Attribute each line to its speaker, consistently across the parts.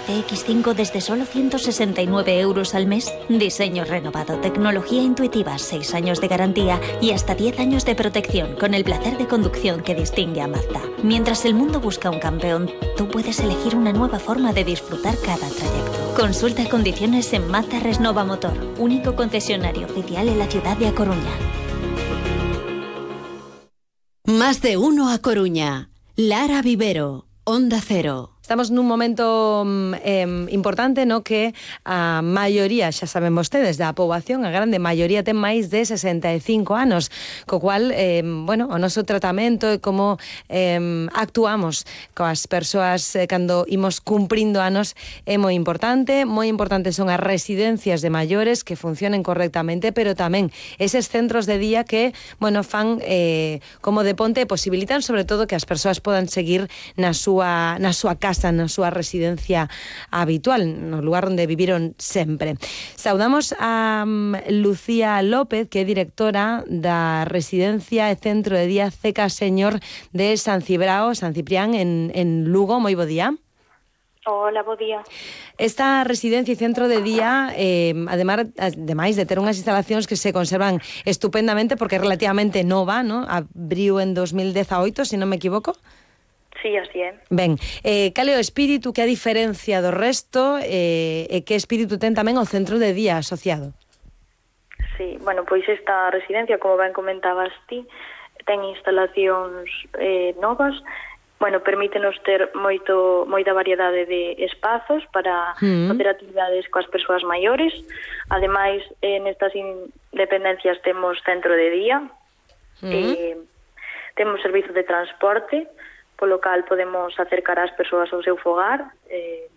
Speaker 1: CX5 desde solo 169 euros al mes. Diseño renovado, tecnología intuitiva, 6 años de garantía y hasta 10 años de protección con el placer de conducción que distingue a Mazda. Mientras el mundo busca un campeón, tú puedes elegir una nueva forma de disfrutar cada trayecto. Consulta condiciones en Mazda Resnova Motor, único concesionario oficial en la ciudad de A Coruña.
Speaker 2: Más de uno a Coruña. Lara Vivero, Onda Cero.
Speaker 3: Estamos nun momento importante no que a maioría, xa saben vostedes, da poboación, a grande maioría ten máis de 65 anos, co cual, o noso tratamento e como actuamos coas persoas cando imos cumprindo anos é moi importante. Moi importantes son as residencias de maiores que funcionen correctamente, pero tamén eses centros de día que, fan como de ponte e posibilitan sobre todo que as persoas podan seguir na súa casa, na súa residencia habitual, no lugar onde viviron sempre. Saudamos a Lucía López, que é directora da residencia e centro de día CK Señor de San Ciprián, en Lugo. Moi bo día.
Speaker 4: Hola, bo día.
Speaker 3: Esta residencia e centro de día, ademais de ter unhas instalacións que se conservan estupendamente, porque é relativamente nova, ¿no? Abriu en 2018, se non me equivoco.
Speaker 4: Sí, así é.
Speaker 3: Ben, cal é o espírito, que a diferencia do resto e que espírito ten tamén o centro de día asociado?
Speaker 4: Sí, pois esta residencia, como ben comentabas ti, ten instalacións novas, permítenos ter moita variedade de espazos para facer actividades coas persoas maiores. Ademais, nestas dependencias temos centro de día, temos servizo de transporte, polo cal podemos acercar as persoas ao seu fogar, e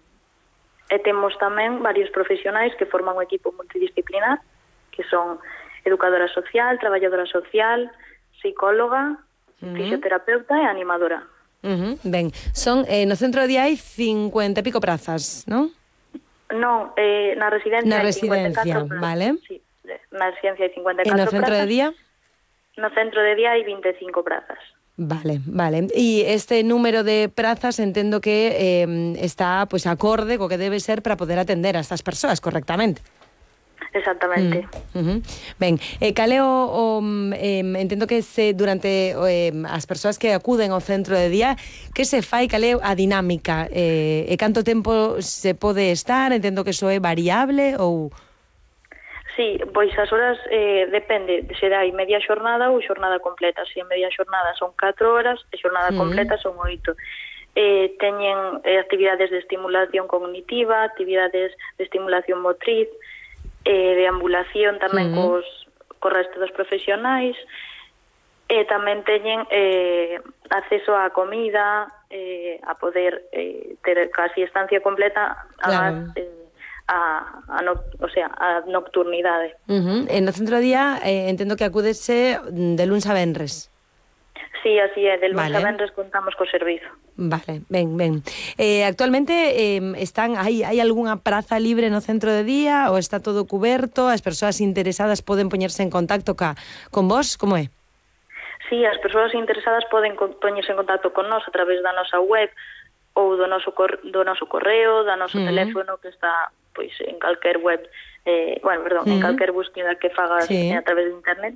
Speaker 4: temos tamén varios profesionais que forman un equipo multidisciplinar, que son educadora social, traballadora social, psicóloga, fisioterapeuta e animadora.
Speaker 3: Ben, son no centro de día hai 50 e pico prazas, non?
Speaker 4: Non, na residencia
Speaker 3: hai
Speaker 4: 54 prazas.
Speaker 3: Vale.
Speaker 4: Sí, na residencia hai 54 prazas.
Speaker 3: E no centro de día?
Speaker 4: No centro de día hai 25 prazas.
Speaker 3: Vale. E este número de prazas entendo que está acorde co que debe ser para poder atender a estas persoas correctamente.
Speaker 4: Exactamente.
Speaker 3: Ben, cal é entendo que durante as persoas que acuden ao centro de día, que se fai, cal é a dinámica, e canto tempo se pode estar? Entendo que iso é variable ou...
Speaker 4: Sí, pois as horas depende, se dai media xornada ou xornada completa. Se a media xornada son 4 horas e xornada completa son 8. Teñen actividades de estimulación cognitiva, actividades de estimulación motriz, de ambulación tamén co resto dos profesionais, e tamén teñen acceso á comida, a poder ter casi estancia completa,
Speaker 3: claro.
Speaker 4: a nocturnidade.
Speaker 3: En no centro de día entendo que acúdese de luns a venres.
Speaker 4: Sí, así é, de luns a venres contamos co servizo.
Speaker 3: Vale, ben. Actualmente hai algunha praza libre no centro de día ou está todo cuberto? As persoas interesadas poden poñerse en contacto con vos? Como é?
Speaker 4: Sí, as persoas interesadas poden poñerse en contacto con nós a través da nosa web ou do noso correo, da noso teléfono, que está pois en calquer web, en calquer búsqueda que fagas a través de internet.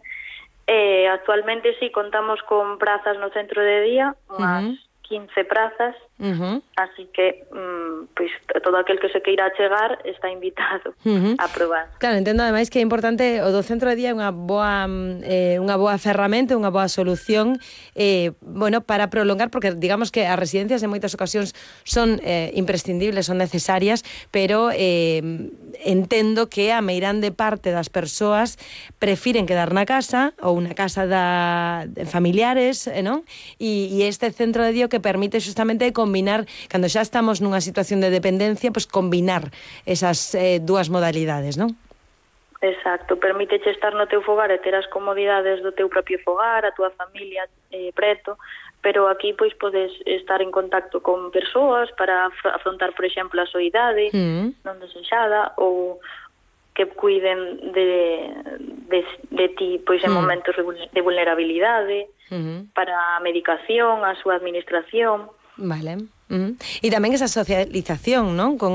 Speaker 4: Actualmente sí contamos con prazas no centro de día, unhas 15 prazas, así que pois todo aquel que se queira chegar está invitado a probar.
Speaker 3: Claro, entendo ademais que é importante o do centro de día, unha boa ferramenta, unha boa solución para prolongar, porque digamos que as residencias en moitas ocasións son imprescindibles, son necesarias, pero entendo que a meirande parte das persoas prefiren quedar na casa ou na casa de familiares, non? E este centro de día que permite justamente combinar, cando xa estamos nunha situación de dependencia, pues combinar esas dúas modalidades, non?
Speaker 4: Exacto, permíteche estar no teu fogar e ter as comodidades do teu propio fogar, a túa familia preto, pero aquí pois podes estar en contacto con persoas para afrontar, por exemplo, a soidade non desexada, ou que cuiden de ti pois en momentos de vulnerabilidade, para a medicación, a súa administración.
Speaker 3: Vale. E tamén esa socialización, non? Con